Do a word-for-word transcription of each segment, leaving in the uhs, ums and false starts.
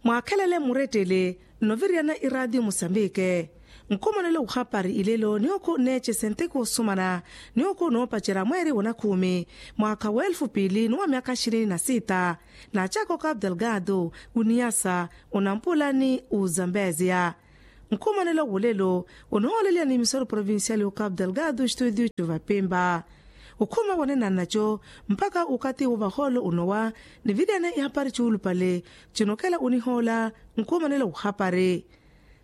Mwaakhelele murettele nnoviriyana iraatiyo musambike. Nkhumanelo wuhapari ilelo niyookhu nneecese nteko osumana niyookhu noopacerya mweeri wa nakhumi mwaakha wa elfu piili ni wa myaakha xini na sita. Naacaka okapu delgado uniyasa unampulani uzambeziya. Nkhumanelo wulelo unohooleliya ni misoro provincial y'okapu delgado studio cuvapimpa. Ukhuma wanenanaco mpakha ukathi wo vahoolo unowa niviryane ihapari cuulupale cinokhela unihoola. Nkhumanelo wuhapari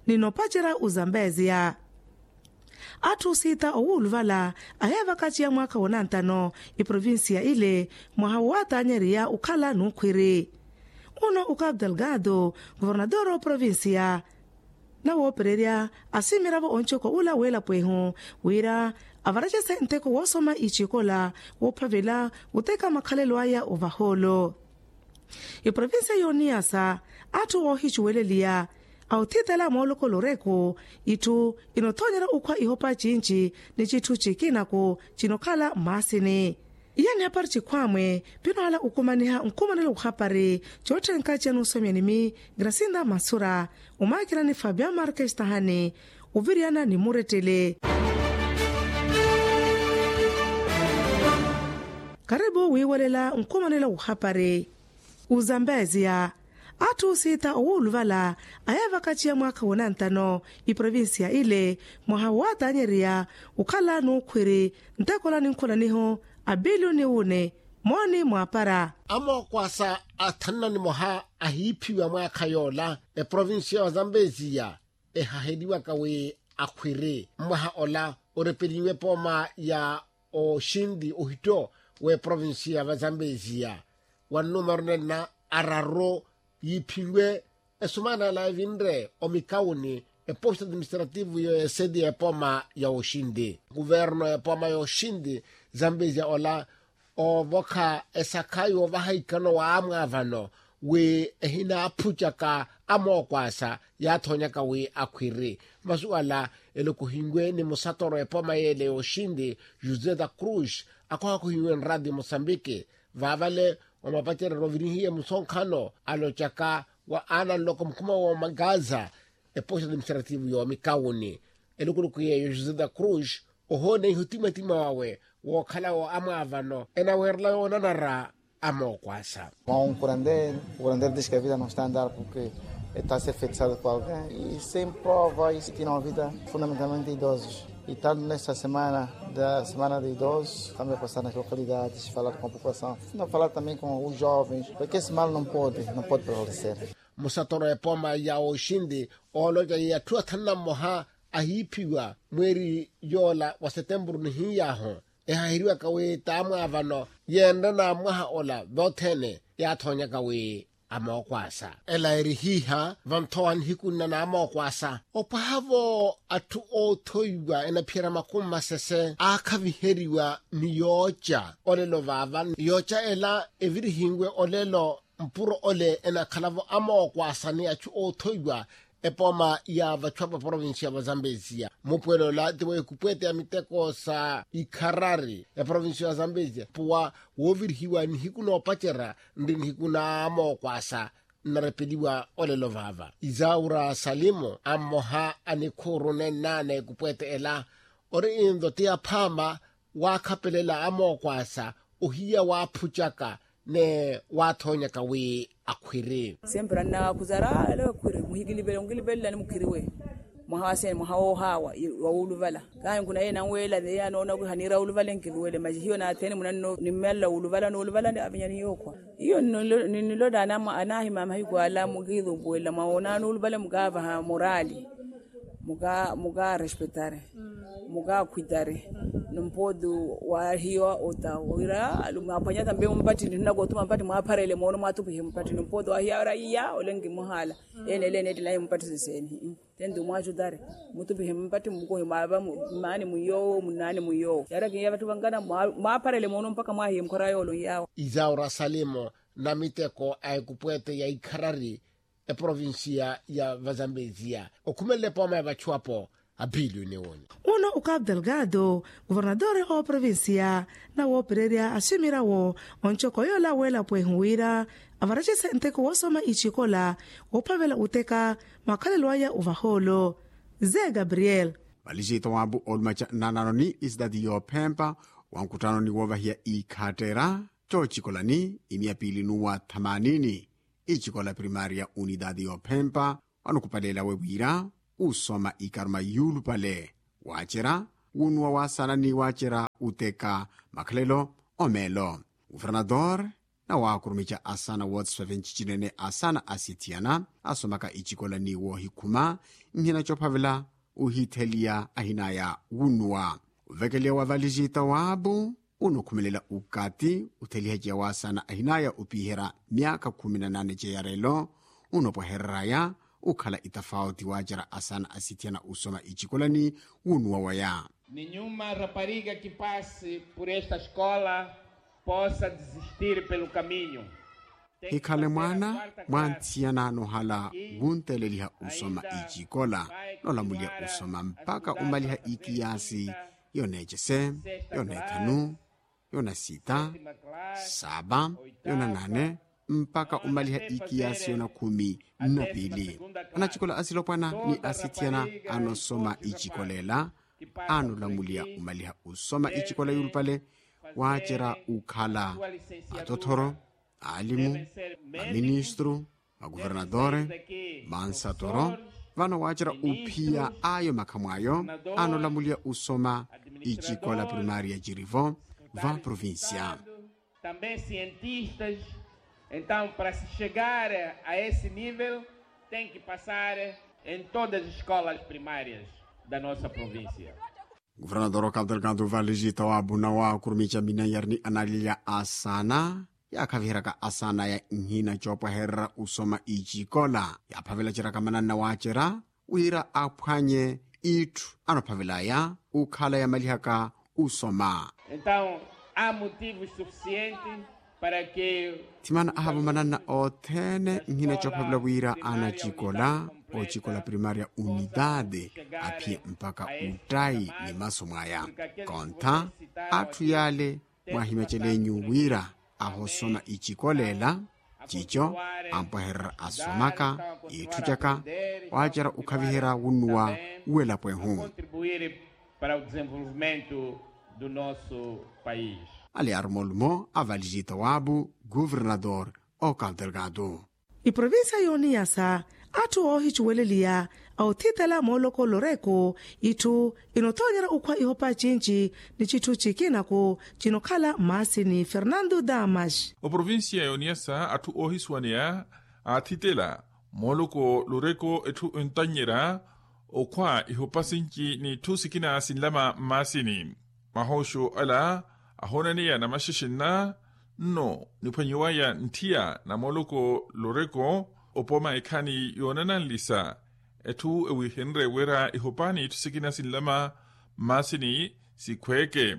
ni nopacerya uzambeziya. Atthu siita owuuluvala aheevakaciya mwaakha wa nantano iprovincia ile mwaha wowatanyeriya ukhala nukhwiri. Uno ukapu delgado governador oprovincia nawoopererya asimiravo onchoko ula weelapwehu wira avaracese nteko woosoma icikola woophavela wuteka makhalelo aya ovahoolo. Iprovincia yooniyasa atthu oohicuweleliya a othitela moolokoloreku itthu inothonyerya ukhwa ihopa cinci ni citthu cikinaku cinokhala mmaasini. Iya nihapari cikhwamwe pinohala okumaniha nkhumanelo wuhapari cootthenka ciya nuusomyani mi grasinda mansura omaakirani fabia markestahani oviriyana ni murettele. Karipu wiiwelela nkhumanelo wuhapari. Uzambeziya atthu siita owuuluvala ayeevakaciya mwaakha wa nantano iprovincia ile mwaha wowatanyeriya ukhala nukhwiri ntekola ni nkhulaniho a pilioni wune mooni mwaapara. Amookwasa athanna nimoha ahiiphiwa mwaakha yoola eprovincia wa zambeziya ehaheliwaka wi akhwiri mwaha ola orepeliwe pooma ya oxinti ohitto w'eprovincia va zambeziya wa nnumero nenna araru yiiphinwe esumana ela evinre omikawuni eposto administrativo y'oeseti y'epooma ya oxinti. Kuverno y'epooma ya oxinti zambeziya ola oovokha esakha yoovaha ikano wa amwaavano wi ehinaaphutcaka amookwasa yaathonyaka wi akhwiri. Masuwala elokohiwe ni musatoro epooma yeele yooxinti josé da cruz akohakohiwe nrati musambiki vaavale wa mapacereryo ovirihiye musonkhano alocaka wa aana nloko mukhuma wa magaza eposto administrativo y'omikawuni. Elukuluku yeeyo josé da cruz ohooneiha otimatima wawe wookhala wo amwaavano enaweerela yoonanara amookwasa. Mwa unkurandere, unkurandere dixe que a vida no está andar porque está ser fixado por alguém e sem prova e se tiram a vida fundamentalmente idosos. E tanto nesta semana da semana de idosos também passar nas localidades falar com a população, não falar também com os jovens porque esse mal não pode não pode prevalecer. Musatoro epooma ya oxinti ooloca wi atthu athanu na mmoha ahiiphiwa mweeri yoola wa setempuru nihiy'ahu ehaheriwaka wi t'amwaavano yeenre na mwaha ola vothene yaathonyaka wi amookwasa ela eri hiiha vanthowa nihiku nna na amookwasa opwaha-vo atthu oothoiwa enaphiyerya makumi masese aakhaviheriwa ni yooca olelo vaava yooca ela evirihiwe olelo mpuro ole enakhala-vo amookwasa ni achu oothoiwa epooma ya vachu apa provincia va zambeziya mupuwelo ola ti wa ekupwete ya miteko sa ikharari eprovincia ya zambeziya puwa woovirihiwa nihiku noopacerya nri nihiku na amookwasa nnarepeliwa olelo vaava isaura salimu a mmoha a nikhuuru nennaana ekupwete ela ori into ti aphaama waakhapelela amookwasa ohiya waaphucaka ni waathonyaka wi akhwiri. Sempre annaakhuzara ale akhwiri muhikilivele onkilivellani mukhiriwe mwaha wa sene mwaha woohaawa wa wuuluvala kahi nkuna yeye nanweela yeye anoona wi haniira wuuluvala enkiluwele masi hiyo naathene munanno nimmelela wuuluvala nuuluvala avinyani yookhwa hiyo ninnilolani anahima mahiku ala mukiithumpuwela mwawoonani wuuluvala mukaavaha morali muka muka respetare muka khwitare. Nompotu wahiya ota wira mwaphwanya tambe mumpattini nnakootuma mpattini mwaapharele moono mwaatupihe mumpattini nompotu wahiya wira iya ole nkimuhaala ene ele eneettelaye mumpattini seeni tenti mwaacu tare mutupihe mumpattini mukohi mwaava mmaani mwiyowo munnaani mwiyowo yaara kiya vatthu vankana mwaapharele moono mpakha mwahiye mukhora yoolo nyaawo isaura salimu na miteko a ekupwete ya ikharari eprovincia ya vazambeziya okhumelela epooma ya vachu apo Aphiili oniwoonya. Uno ukapu delgado, kuvernatore ooprovinsiya, nawoopererya asimirawo, oncokoyola weelapwehu wira avaracise nteko woosoma icikola woophavela uteka makhalelo aya ovahoolo. Ze gabriel. Malisita waabu olumaca nnanano ni isitati yoophempa, wankuttanoni woovahiya ikhattera coocikolani imiya piili nuwa thamanini, icikola primaria unitati yoophempa, wanukhupaleela we wira usoma ikaruma yuulupale, waacera wunuwa waasana ni waacera uteka makhalelo omeelo. Guvernator nawaakurumica asana wotsfefe ncicinene asana asithiyana asomaka icikola ni woohikhuma, nhina coophavela uhitheliya ahinaya wunuwa. Uvekeliya wa valisita waabu unokhumelela ukati uthelihaciya waasana ahinaya opiherya myaakha khumi na nane ceyarelo, unopwehereraya ukhala itafauti waacera asana asithiyana usoma icikolani. Wunuwa waya. Ninyuma rapariga kipasi pur esta eskola posa dizistiri pelo kaminyu. Hikhale mwaana mwa nthiyana nohala wunteleliha usoma icikola, nolamulya usoma mpakha umaliha ikiyasi yoneecese, yoneethanu, yonasita, saapa, yonanane, mpakha umaliha ikiyasi yonakhumi. Nnapiili anacikola asilopwana ni asithiyana anosoma icikola ela, anolamulya umaliha usoma icikola yuulupale, waacerya ukhala atothoro, aalimu, maministru, maguvernatore, mansatoro, vano waacerya uphiya ayo makhamw'ayo anolamulya usoma icikola primaria cirivo va provincia. Também cientistas. Então para se chegar a esse nível tem que passar em todas as escolas primárias da nossa província. Guvernator okapu delgado valisita waapuna waakurumica minayari ni analilya asana yaakhaviheryaka asana ya nhina coopwehererya usoma icikola, yaaphavelaceryaka mananna waacerya wira aphwanye itthu anophavelaya ukhala yamalihaka usoma. Então há motivos suficientes para que thimana ahavo mananna othene nhina coophavela wira anacikola ocikola primaria unitati aphiye mpakha uttayi ni masu mwaya. Kontha atthu yale mwaahimecel'enyu wira ahosoma icikola ela, cico ampwehererya asomaka itthu caka waacerya ukhaviherya wunnuwa welapwehu. Para o desenvolvimento do nosso país. Ali aruma olumo a valisita waabu guvernator okapu delgado. Iprovinsiya y'oniyasa atthu oohicuweleliya a othitela mooloko loreko itthu inothonyerya okhwa ihopa cinci ni citthu cikinaku cinokhala mmaasini fernando damas. Oprovinsiya y'oniyasa atthu oohisuwaneya aathitela mooloko loreko etthu entanyerya okhwa ihopa sinci n'itthu sikina sinlama mmaasini. Mahooxo ala ahoonaneya namaxexenna nno niphwanyiwaya ntthiya na mooloko loreko opoma ekhani yoonananlisa etthu ewiihenrye wira ihopa n'itthu sikina sinlama mmaasini sikhweeke.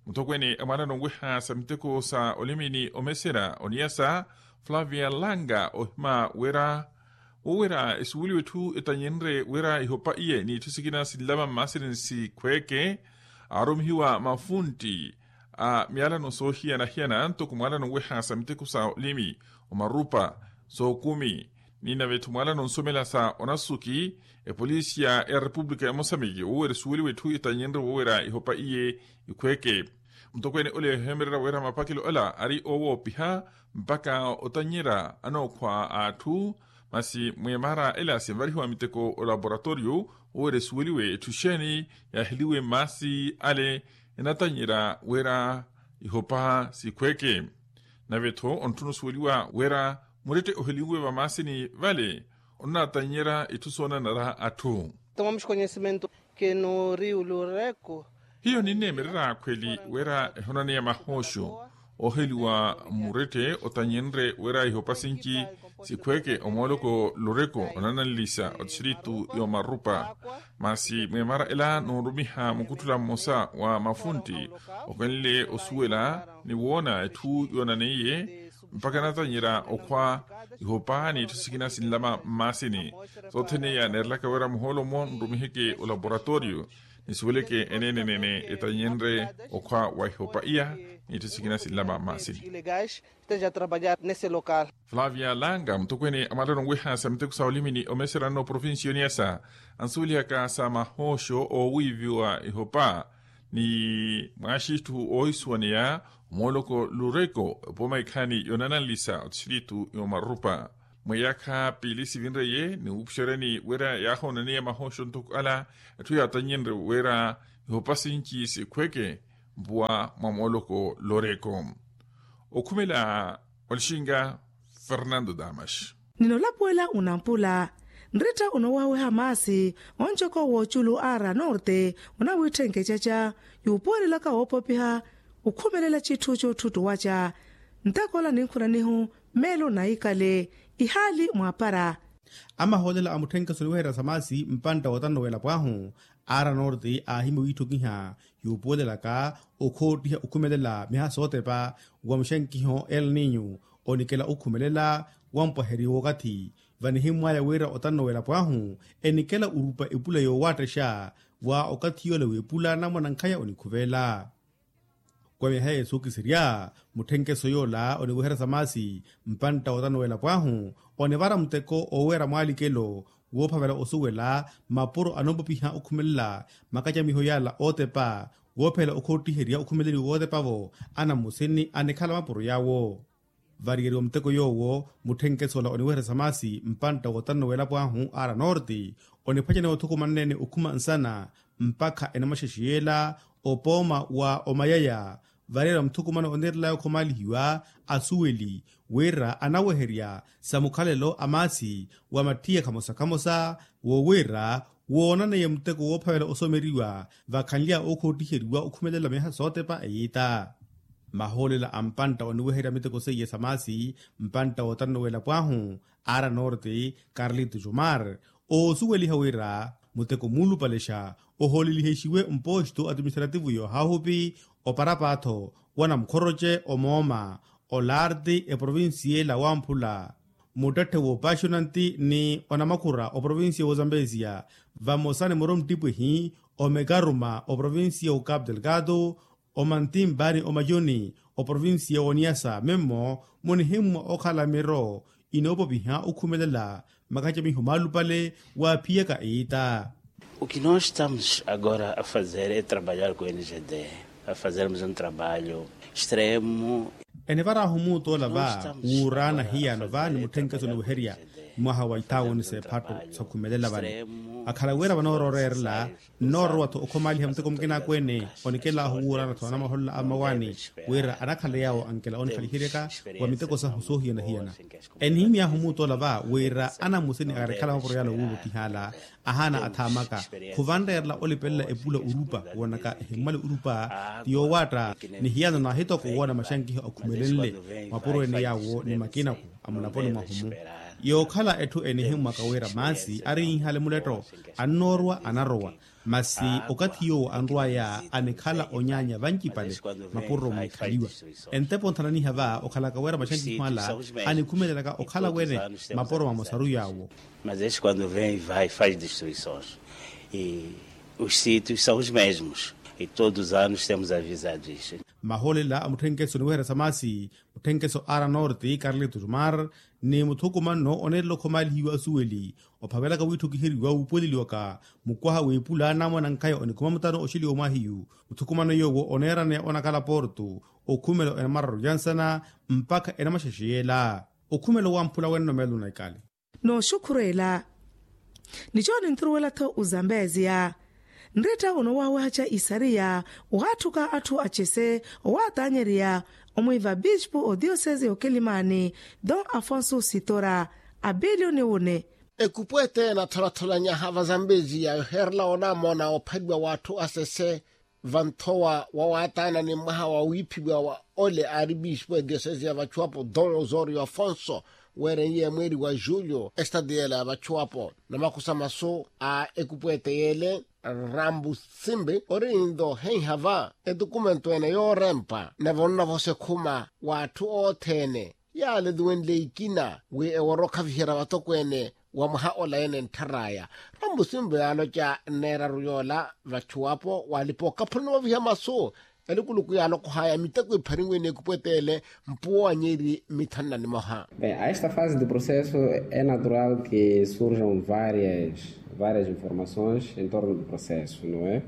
Muthokweene a mwaana nonweha sa miteko sa olimini omeserya oniyasa flavia langa ohima wira woowira esuweliwe etthu etanyinre wira ihopa iye n'itthu sikina sinlama mmaasini sikhweeke aarumihiwa mafuntti a myalano soohiyana-hiyana ntoko mwalano nweha sa miteko sa olimi omarupa sookumi ni nave-tho mwalano nsomela sa onasuki epolisiya ya repupulika ya mosamiki woowira esuweliwe etthu etanyinre woowira ihopa iye ikhweeke. Mutokweene ole eheemererya wira mapakelo ala ari oowoopiha mpakha otannyerya anookhwa a atthu masi mweemara ela sinvarihiwa miteko olaboratoriyo woowira esuweliwe etthu exeeni yaaheliwe mmaasi ale enatannyerya wira ihopa sikhweeke. Nave-tho ontthuna osuweliwa wira murette oheliwe vamaasini vale onnatannyerya itthu soonanara atthu. Tomamos conhecimento que no rio lureko hiyo ninneemererya khweli wira ehonaneya mahooxo ooheliwa murette otanyenrye wira ihopa sinci sikhweeke omooloko lureko onananlisa otistritu y'omarupa. Masi mweemara ela noorumiha mukutthula mmosa wa mafuntti okenle osuwela ni woona etthu yoonaneiye Mpakha natanyerya okhwa ihopa n'itthu sikina sinlama mmaasini. Sothene iya neerelaka wira muhoolo-mo nrumiheke olaporatooriyo nisuweleke eneenenene etanyenrye okhwa wa ihopa iya n'itthu sikina sinlama mmaasini. Flavia langa mutokweene a malero onwiha sa miteko sa olimi ni omeserano provincia oniyasa ansuwelihaka sa mahooxo oowiiviwa ihopa ni mwaaxitthu oohisuwaneya omooloko lureko epooma ikhaani yoonananlisa otistritu y'omarupa. Mweyaakha piili sivinreye ni wuupuxeryani wira yaahoonaniya mahooxo ntoko ala etthu yaatannyenrye wira ihopa sinci sikhweke mpuwa mwa mooloko loreko. Okhumela olixinga fernando damas. Ninolapuwela unampula nritta onoowaweha maasi onjoko wooculu ara norte onawiitthenke caca yuupuwelelaka woopopiha okhumelela citthu cootthutuwaca ntakola ninkhunanihu meelo naikale ihaali mwaapara. Amahoolela a mutthenkeso oniweherya sa maasi mpantta wootanno w'elapo ahu ara norte aahimya wiitthokiha yuupuwelelaka okhoottiha okhumelela miha sootepa wa muxenkiho el ninyu onikela okhumelela wampwaheriwa okathi vanihimmwaya wira otanno w'elapo ahu enikela orupa epula yoowattexa wa okathi yoola w'epula namwanankhaya onikhuvelela. Kwa myaha yeesukiserya mutthenkeso yoola oniweherya sa maasi mpantta wootanno w'elapo ahu onivara muteko oowera mwaalikelo woophavela osuwela mapuro anoopopiha okhumelela makacamiho yaala ootepa woophela okhoottiherya okhumeleliwa wootepavo anamusini anikhala mapuro yaawo. Variyeriwa muteko yoowo mutthenkeso ola oniweherya sa maasi mpantta wootanno w'elapo ahu ara norte oniphwaceneya othukumanene okhuma nsana mpakha enamaxexe yeela opooma wa omayaya variyeriwa muthukumano oniirelaya okhomaalihiwa asuweli wira anaweherya sa mukhalelo a maasi wa mattiya khamosa khamosa woowira woonaneiye muteko woophavela osomeriwa vakhanly'awe okhoottiheriwa okhumelela miyaha sootepa eyiita. Mahoolela a mpantta oniweherya miteko seiye sa maasi mpantta wootanno w'elapo ahu ara norte carlito jomar oosuweliha wira muteko muulupalexa ohoolelihexiwe mposto atiministrativu y'ohahupi oparapaatho wa namukhoroce omooma olarti eprovincia ela wamphula muttetthe w'opaxonanti ni onamakhura oprovincia w'ozambesia vamosa ni muro mttipwihi omekaruma oprovincia w'ocapu delgado omantimba ni omayoni oprovincia w'oniyasa mimmo munihimmwa okhala miro inoopopiha okhumelela makacamiho maalupale waaphiyaka eyiita. O que nós estamos agora a fazer é trabalhar com o n g d a fazermos um trabalho extremo. Enivarahu muutoola va wuuraana hiyano va ni mutthenkeso oniweherya mwaha wa ithaawoni s'ephatto sakhumelela vani akhala wira vanooroorerela nnoorowa-tho okhomaaliha muteko mukina akweene onikelaahu wuuraana-tho anamaholola a mmawaani wira anakhala yaawo ankela onixaliheryaka wa miteko sahu soohiyana-hiyana. Enihimy'ahu muutoola va wira anamusini akarikhala mapuro yaala owuuvotihaala ahaana athaamaka khuvanreerela olipelela epula orupa woonaka ehimmwale orupa ti yoowaatta ni hiyano naahitoko woona maxankiho akhumelenle mapuro ene yaawo ni makinako a mulaponi mwahumu. Yookhala etthu enihimmwaka wira maasi ariihihale muletto annoorwa anarowa masi okathi yoowo anrw'aya anikhala onyaanya vancipale mapuro mwiikhaliwa. Entepo nthananiha va okhalaka wira maxankiho ala anikhumelelaka okhala wene mapuro mamosaru yaawo. Mas este quando vem vai faz destruições e os sítios são os mesmos e todos os anos temos avisado isso. Mahoolela a mutthenkeso oniweherya sa maasi mutthenkeso ara norte carlito jomar ni muthukumanno oneerela okhomaalihiwa asuweli ophavelaka wiitthukiheriwa wuupuweleliwaka mukwaha w'epula namwanankhaya onikhuma mutano oxeliwa omwaahiyu muthukumano yoowo oneeraneya onakhala porto okhumelo enamararu yansana mpakha enamaxexe yeela okhumelo wamphula wenno meelo naikale. Nooxukhureela ni cooni nturuwela-tho ozambeziya nretta onoowawehaca isariya owaatthuka atthu acese owaatanyerya omwiiva bispu odiyosese y'okelimani don afonso sitora abilioni wune. Ekupweete enatholatholaanyaha vazambeziya yoheerela onamona ophaliwa w'atthu asese vanthowa wawaataana ni mwaha wa wiiphiwa wa ole aari bispu ediyosese ya vachuwapo don osorio afonso weereiye mweeri wa julio estadiela ya vachuwapo namakusa masu a ekupweete yeele rambu simbi ori nto heiha va etukumento ene yoorempa nave ononavosa ekhuma w'atthu othene. Yaaleluwenle ikina wi eworo okhaviherya vatokweene wa mwaha ola ene nttharaaya. Rambusimbo yaaloca nneeraru yoola vachuwapo waalipa okaphulani waviha masu. Elukuluku yaalokohaya miteko ipharinwe n'ekupweteele mpuwa nyeri mithanu na nimoha. Bem, a esta fase do processo é natural que surjam várias várias informações em torno do processo, não é?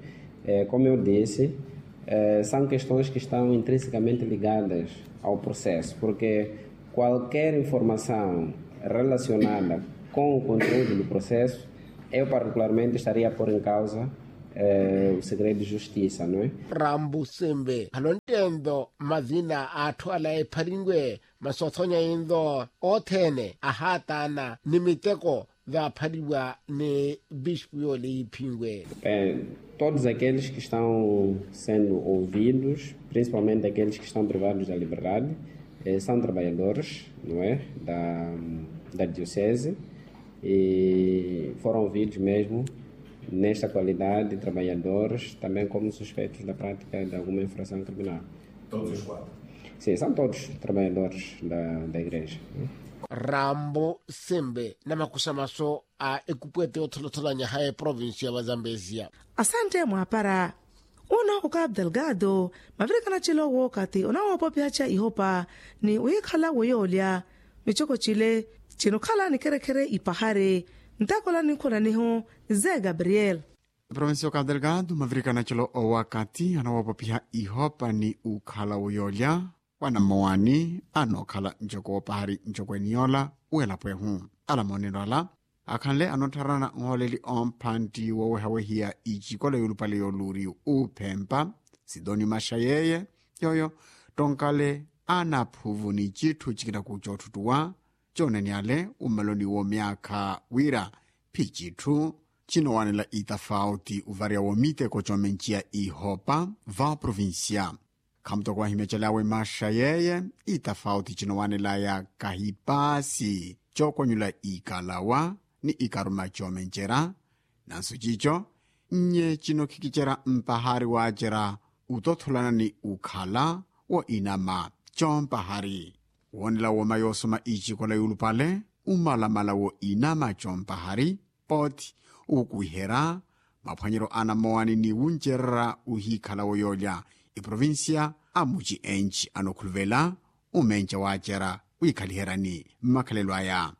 Como eu disse, são questões que estão intrinsecamente ligadas ao processo, porque qualquer informação relacionada com o conteúdo do processo, eu particularmente estaria a pôr em causa o segredo de justiça, não é? Rambusimbi khalo ntteento mazina a atthu ala epharinwe, masu othonya inlo othene ahaataana ni miteko vaaphariwa ni bispu yoole yiiphinwe. Todos aqueles que estão sendo ouvidos, principalmente aqueles que estão privados da liberdade, são trabalhadores, não é, da diocese, e foram ouvidos mesmo nesta qualidade de trabalhadores, também como suspeitos da prática de alguma infração criminal. Sim, são todos trabalhadores da igreja. Rambo sembe na makusamaso a ekupwete otholatholanyaha eprovinsiya va zambesia. Asante mwaapara. Uno oka abdelgado mavirikana cilo wookathi onawoopopihaca ihopa ni wiikhala woyoolya. Micoko cile cinokhala nikherekhere ipahari. Ntakola ninkhonanihu ze gabriel. Provincia oka abdelgado mavirikana cilo owakathi anawoopopiha ihopa ni ukhala woyoolya. Wanamowani anookhala ncoko woopahari ncoko eniyola welapo ehu. Alamoonelo ala akhanle anootharana nhooleli omphantti wowehawehiya icikola yuulupale yooluuriyu uuphempa. Sidoni maxa yeeye yooyo tonkale anaphuvu ni citthu cikina kucootthuttuwa. Coonaniyale ummaloni wo myaakha wira phi citthu cinowanela itafauti uvarya wo miteko coomenciya ihopa va provincia. Khamutoko wahimya calawe maxa yeeye itafauti cinowanelaya kahipaasi cookonyula ikalawa ni ikaruma coomencera. Nansu cico nye cinokhikicera mpahari waacera utotholana ni ukhala wo inama compahari. Woonela wooma yoosoma icikola yuulupale umalamala wo inama compahari. Poothi uukuwiherya maphwanyeryo anamowani ni wuncererya uhiikhala woyoolya iprovincia amuci enci anokhuluvela umenca waacerya wiikhaliheryani mmakhalelo aya.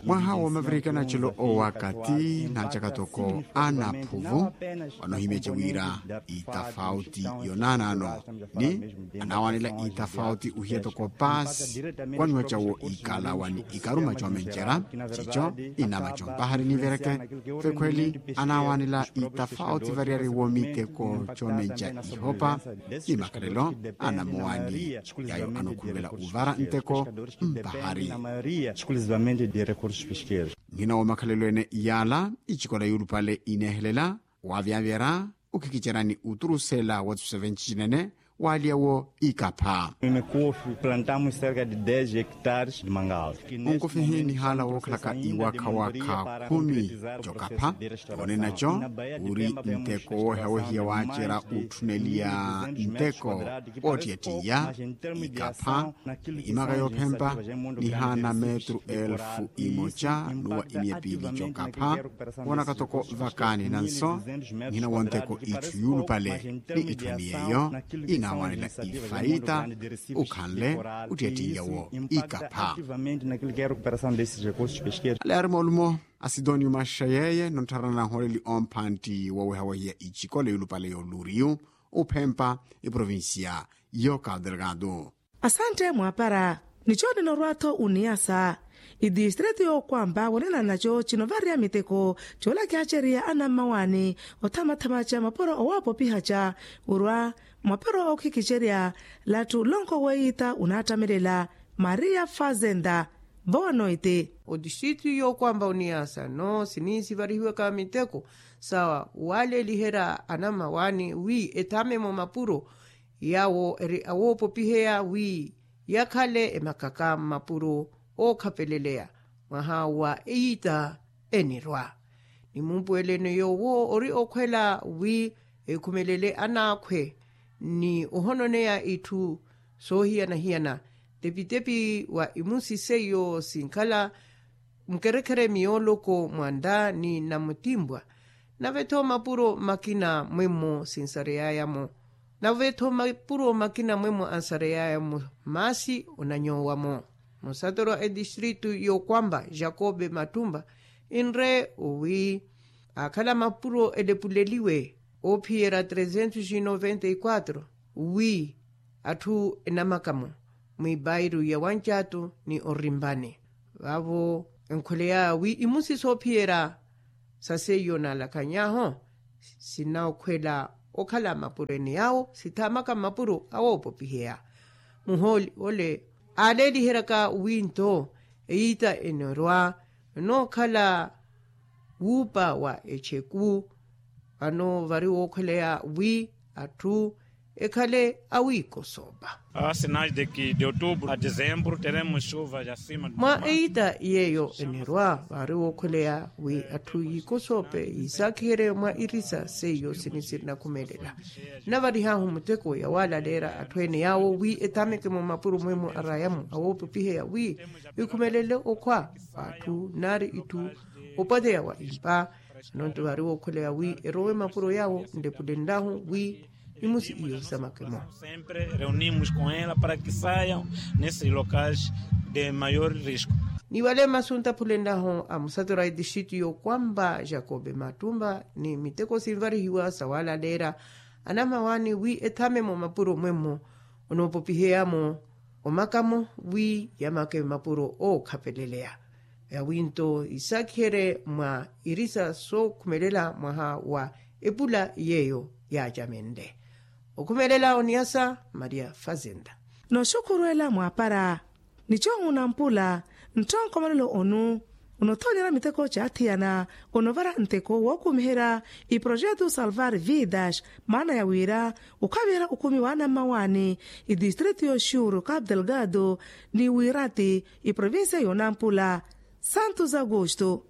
Mwaha woomavirikana cilo owakathi naacaka toko anaphuvu. Wanoohimya ca wira itafauti yonaanaano ni anaawanela itafauti uhiya toko paasi kwaniwa cawo ikalawa ni ikaruma coomencera cico inama compahari nivereke. Vekhweli anaawanela itafauti variyari wo miteko coomenca ihopa ni makhalelo anamowani yayo anokhuluvela uvara nteko mpahari. Nhina wo makhalelo ene iyaala icikola yuulupale ineehelela waavyavyerya ukhikicerani uturusela wa tusevenci cinene waaliya wo ikapha. Onkufihi nihaala wookhalaka iwakha wakha khumi cokapha. Coonena co uri nteko woohewahiya waacerya utthuneliya nteko woottiyattiya ikapha imaka yoophempa nihaana metru elfu imoca nuwa imiya piili cokapha. Woonaka toko vakaani nanso nhina wonteko itthu yuulupale ni itthu eni yeeyo inaawanela ifaita ukhanle uttiyattiya wo ikapha. Ale ari moolumo asidoni umaxa yeeye nontharana na nhooleli omphantti wowehawehiya icikola yuulupale yooluuriyu uphempa iprovincia y'oka delgado. Asantte mwaapara. Ni coonina orwa-tho oniyasa itistrito y'okwampa wonenana naco cinovarya miteko coolakihacerya anammawaani othamathamaca mapuro owoopopihaca orwa mapuro ookhikicerya latthu lonko weiita onaattamelela maria fazenda. Vowa noite otistrito y'okwampa oniyasa no siniisivarihiwaka miteko sa waaleliherya anammawaani wi ethamemo mapuro yawo eri awoopopiheya wi yakhale emakaka mmapuro ookhapeleleya mwaha wa eyiita enirwa. Ni mumpuweleno yoowo ori okhwela wi ekhumelele anaakhwe ni ohononeya itthu soohiyana-hiyana. Tepitepi wa imusi seiyo sinkhala mukerekhere miyooloko mwa nda ni namutimbwa. Nave-tho mapuro makina mwemmo sinsareyaya-mo. Nave-tho mapuro makina mwemmo ansareyaya-mo, maasi onanyoowa-mo. Musatoro a etistritu y'okwamba jakobe mattumba, inre wi akhala mapuro elepuleliwe oophiyerya trezentos e noventa e quatro, wi atthu enamakamo mwipairu ya wancaatu ni orimpani. Vaavo enkholeyaya wi imusi soophiyerya sa seiyo naalakhanyaho sinaokhwela okhala mapuro ene yaawo sithaamaka mapuro awoopopiheya. Muhooli ole aaleeliheryaka wi nto eyiita enorwa nookhala wuupa wa echeku. Vano vari wookhweleya wi atthu ekhale awiikosoopa. Sinais de ki de outubro a dezembro teremos chuvas acima de mwa eyiita yeeyo enerwa vari wookhweleya wi atthu yiikosoope yiisakhiherye mwa irisa seiyo sini sirinakhumelela. Navarihahu muteko yawaalaleera atthu ene yaawo wi ethameke mwa mapuro mwemo arayamo awoopopiheya wi ekhumelele okhwa atthu nari itthu opateya wa impa. Nonto vari wookhweleya wi erowe mapuro yaawo nlepulenlahu wi imusi iyo samakemo. Niwale masunta phulenlahu a musatero a etistritu y'okwamba jakobe mattumba ni miteko sinvarihiwa sawaalaleera anamawaani wi ethame mo mapuro mwemmo onoopopiheyamo omakamo wi yamake mapuro ookhapeleleya. Yawinto isakhere mwa irisa sookhumelela mwaha wa epula yeeyo yaacamenle okhumelela oniyasa maria fazenda. Noxukhurwela mwaapara nico munampula nttonkomelelo onu onothonyera miteko caathiyana onovara nteko wookumiherya iprojeto salvar vidas maana ya wira okhaviherya okumi waana mmawaani itistritu yoxuru cabo delgado ni wirati iprovincia yonampula santos augusto.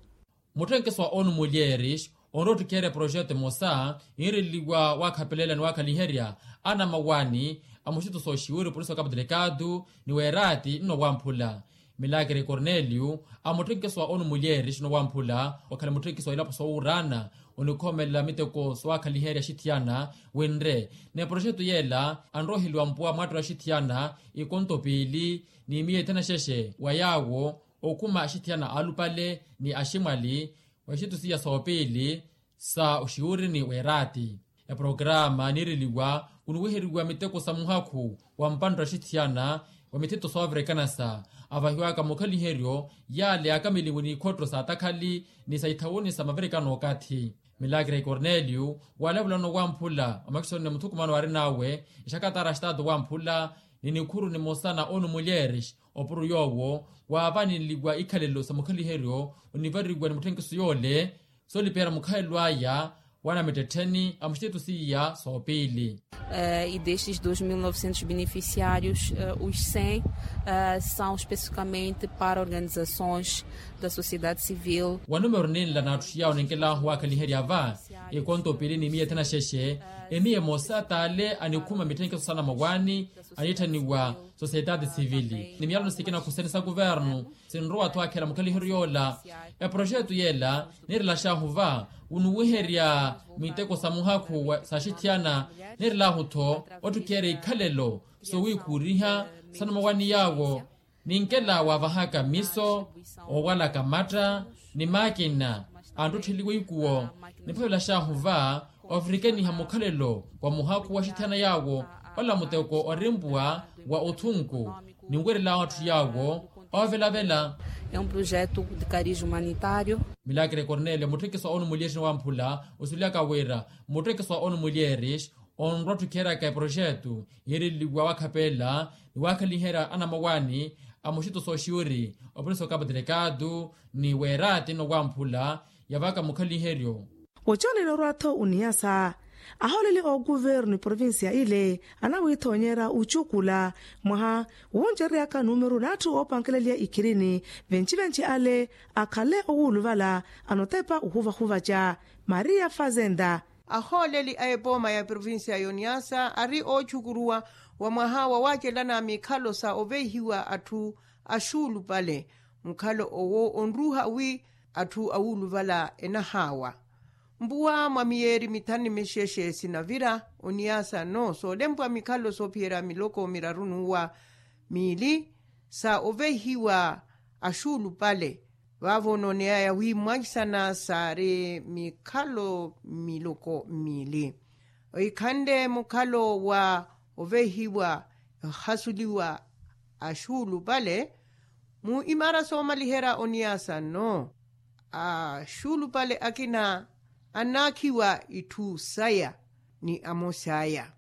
Mutthenkeso wa onu mulyeris onroottikherya projeto emosa yinreliwa waakhapelela ni waakhaliherya anamawaani a muxituso oxiwiri opolisi wa cabo delgado ni weeraati nno wamphula milakere cornelio a mutthenkeso wa onu mulyeris nno wamphula okhala mutthenkeso wa ilapo sowuuraana onikhomelela miteko sowaakhaliherya axithiyana winre ni projeto yeela anroheliwa mpuwa mwaattola axithiyana ikonto piili ni miya ithanaxexe wa yaawo okhuma axithiyana aalupale ni aximwali wa ixitusiya soopiili sa oxiwurini weeraati. Eprograma niireliwa kuniwiheriwa miteko sa muhakhu wa mpantta axithiyana wa mithito soovirikanasa avahiwaka mukhaliheryo yaale yaakameliwe n'ikhotto sa atakhali ni sa ithawuni sa mavirikano okathi milakira ikorneliyo walavula nno wamphula omakisoni ni muthukumano waarin'awe exakatara axitaatu wamphula ni nikhuru nimosa na onu mulyeres opuro yoowo waavaninliwa ikhalelo sa mukhaliheryo onivariwa ni mutthenkiso yoole soolipihera mukhalelo aya waana mittettheni a muxiteto seiya soopiili. E destes dois mil novecentos beneficiários os cem são especificamente para organizações da sociedade civil. Wa numero ninla n'atthu yawo ninkelahu waakhaliherya va ikonto piili ni miya ethanaxexe emiya emosa t'ale anikhuma mitthenkiso sa namawaani anitthaniwa sosiyetaati sivili ni miyalano sikina khusene sa kuvernu sinrowa-tho akhela mukhaliheryo yoola. Eproxeto yeela niirelaxahu va wuniwiherya miteko sa muhakhu sa axithiyana niirelahu-tho ottikheerya ikhalelo sowiikhuuriha sa namawaani yaawo ninkela waavahaka miso oowalaka matta ni maakina anttuttheliwa ikuwo. Niphavelaxahu va ofirikeniha mukhalelo wa muhakhu wa axithiyana yaawo ola muteko orimpuwa wa othunku ninwerelawo atthu yaawo oovelavela. É um projeto de cariz humanitário. Milakre cornelio mutthenkiso wa onu mulyeris ni wamphula osulyaka wira mutthenkiso wa onu mulyeris onrwa ottikheeryaka eproxeto yiireliwa waakhapela ni waakhaliherya anamawaani a muxito sooxiwiri opolisi okapo delegado ni weeraati nno wamphula yavaka mukhaliheryo. Oconela orwa-tho oniyasa ahooleli ookuvernu eprovincia ile anawiithonyerya ocukula mwaha wuncereryaka numeru n'atthu oopankeleliya ikhirini venci-venci ale akhale owuluvala anotepa ohuvahuvaca maria fazenda. Ahooleli a epooma ya provincia y'oniyasa ari oocukuruwa wa mwaha wa waacelana mikhalo sa oveihiwa atthu axuulupale. Mukhalo owo onruuha wi atthu awuuluvala enahaawa. Mpuwa mwa miyeeri mithanu ni mixexe sinavira oniyasa no soolempwa mikhalo soophiyerya miloko miraru n'uwa miili sa oveihiwa axuulupale. Vaavo nooneyaya wi mwaisana saari mikhalo miloko miili. Ohikhanle mukhalo wa oveihiwa ehasuliwa axuulupale mu imaara soomaliherya oniyasa no axuulupale akina annaakhiwa itthu saya ni amosi aya.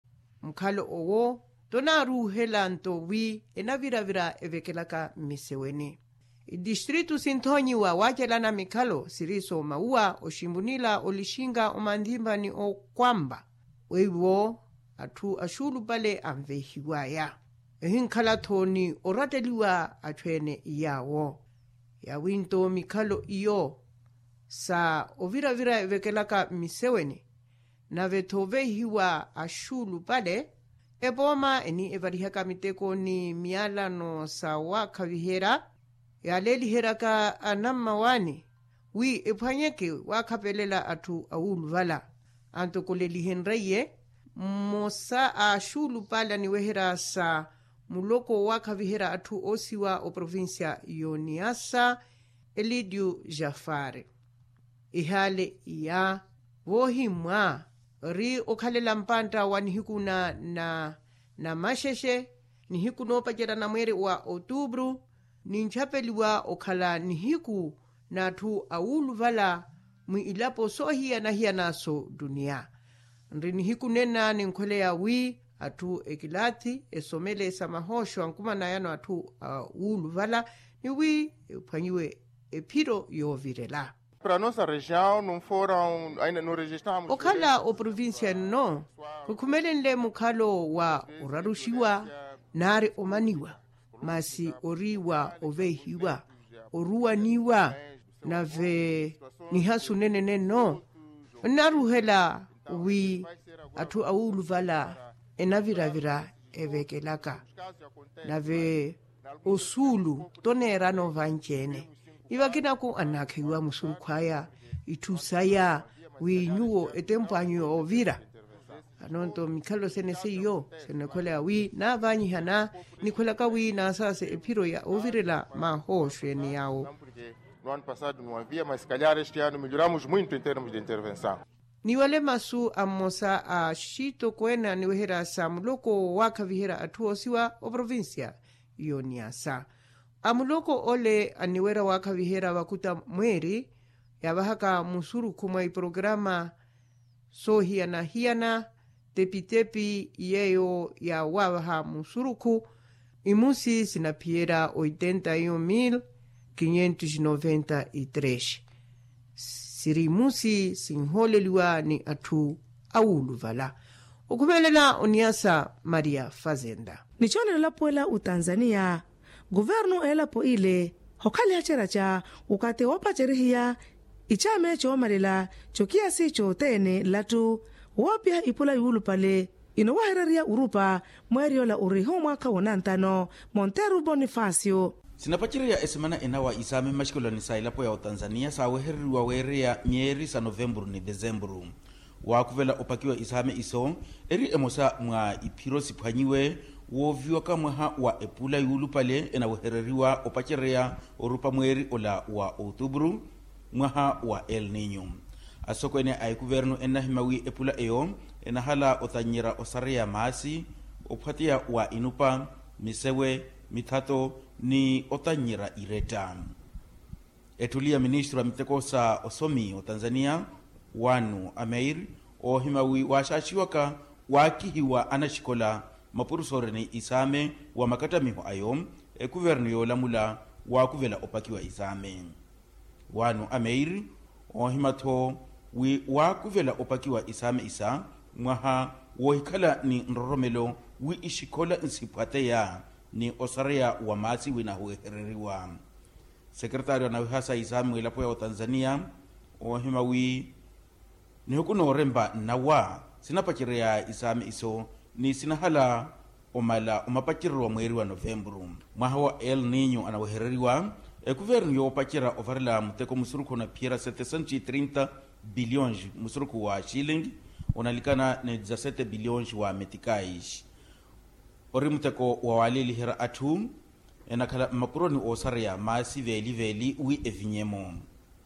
Mukhalo owo tonaaruuhela nto wi enaviravira evekelaka mmiseweni. Itistritu sinthonyiwa waacelana mikhalo siri soomawuwa oximpunila olixinka omanthimpa ni okwampa weiwo atthu axuulupale anveihiwaya. Ehinkhala-tho ni oratteliwa atthu ene yaawo. Yaawinto mikhalo iyo sa oviravira evekelaka mmiseweni nave-tho oveihiwa axuulupale epooma eni evarihaka miteko ni miyalano sa waakhaviherya yaaleeliheryaka anammawaani wi ephwanyeke waakhapelela atthu awuuluvala. Antokolelihenrye mmosa a axuulupale aniweherya sa muloko waakhaviherya atthu oosiwa oprovincia y'oniyasa elidio jafari. Ihaale iya voohimmwa ori okhalela mpantta wa nihiku na na namaxexe nihiku noopacerya na mweeri wa otubru ninchapeliwa okhala nihiku n'atthu awuuluvala mwi ilapo soohiyana-hiyana so duniya. Nri nihiku nena ninkhweleya wi atthu ekilaathi esomele sa mahooxo ankumanayano atthu awuuluvala ni wi ephwanyiwe ephiro yoovirela. Para nossa região não foram ainda não registramos okhala oprovincia nno khukhumelenle mukhalo wa oraruxiwa naari omaniwa masi ori wa oveihiwa oruwaniwa nave nihasu nenene nno. Nnaruhela wi atthu awuuluvala enaviravira evekelaka nave osuulu toneerana ovanci-ene. Ni vakinaku annaakheyiwa musurukhu aya itthu saya wi nyuwo etempo anyu yoovira. Anonto mikhalo sene seiyo sinakhweleya wi naavanyiha na nikhwelaka wi naasase ephiro ya ovirela mahooxo ene yawo. No ano passado no havia mas se calhar este ano melhoramos muito em termos de intervenção. Ni wale masu a mmosa a axitokweene aniweherya sa muloko waakhaviherya atthu oosiwa oprovincia y'oniyasa. A muloko ole aniwerya waakhaviherya vakuta mweeri yaavahaka musurukhu mwa iporokaramu soohiyana-hiyana tepitepi yeeyo yaawaavaha musurukhu imusi sinaphiyerya oitenta e um mil quinhentos noventa e três. Siri imusi sinhooleliwa ni atthu awuuluvala. Okhumelela oniyasa maria fazenda. Nichoolelo elapo ela otanzaniya guvernu elapo ile hokhaliha cera ca ukate woopacerihiya icaame coomalela cokiyasi cothene nlattu woopiha ipula yuulupale inowahereriya urupa mweeri ola uriho mwaakha wonantano monteru bonifacio. Sinapacerya esemana enawa isaame mmaxikolani sa elapo ya otanzaniya saawehereriwa weereya myeeri sa novempuru ni desempuru. Waakhuvela opakiwa isaame iso eri emosa mwa iphiro siphwanyiwe wooviwaka mwaha wa epula yuulupale enawehereriwa opacerya orupa mweeri ola wa outuburu mwaha wa el ninyo. Asokweene a ekuvernu ennahima wi epula eyo enahala otannyerya osareya maasi ophwateya wa inupa misewe mithato ni otannyerya iretta. Ettuli ya ministru a miteko sa osomi otanzaniya wanu ameir oohima wi waaxaaxiwaka waakihiwa anaxikola mapurusoori ni isaame wa makattamiho ayo ekuvernu yoolamula waakuvela opakiwa isaame. Wanu ameir oohima-tho wi waakuvela opakiwa isaame isa mwaha woohikhala ni nroromelo wi ixikola nsiphwateya ni osareya wa maasi wi nahuwehereriwa. Sekeretaari wa nawihasa isaame mwilapo ya otanzaniya oohima wi nihuku noorempa nnawa sinapacerya isaame iso ni sinahala Omala omapacereryo wa mweeri wa novempuru. Mwaha wa el ninyo anawehereriwa, ekuvernu yoopacerya ovarela muteko musurukhu na phiyera sete cento e trinta bilhões musurukhu wa xilingi, onalikana ni dezasete bilhões wa metikais. Ori muteko wa waaleliherya atthu enakhala mmapuroni oosareya maasi veeli-veeli wi evinyemo.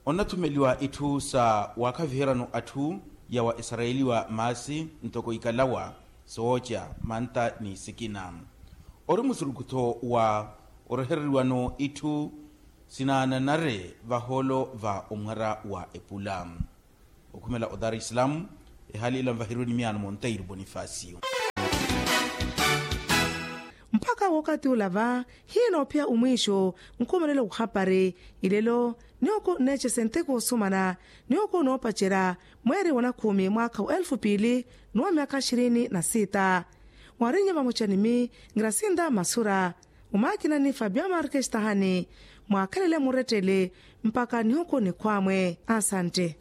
Onnathumeliwa itthu sa waakhaviheryano atthu yawa esarayeliwa maasi ntoko ikalawa, sooca, manta ni sikina. Ori musurukhu-tho wa orehereriwano itthu sinaananare vahoolo va omwara wa epula. Okhumela o dar es salaam, ehaali ila nvaheriwe ni miyaano monteiro bonifacio. Mpakha wookati ula va hiinoophiya omwiixo, nkhumelelo wuhapari ilelo, nihooko nneecese nteko osumana, nihooko noopacerya mweeri wa nakhumi mwaakha wa elfu piili ni wa myaakha xirini na sita. Mwaarinnya vamoca ni mi, ngirasinda masura, omaakinani fabio markestahani, mwaakhelele murettele mpakha nihooko nikhwamwe. Asante.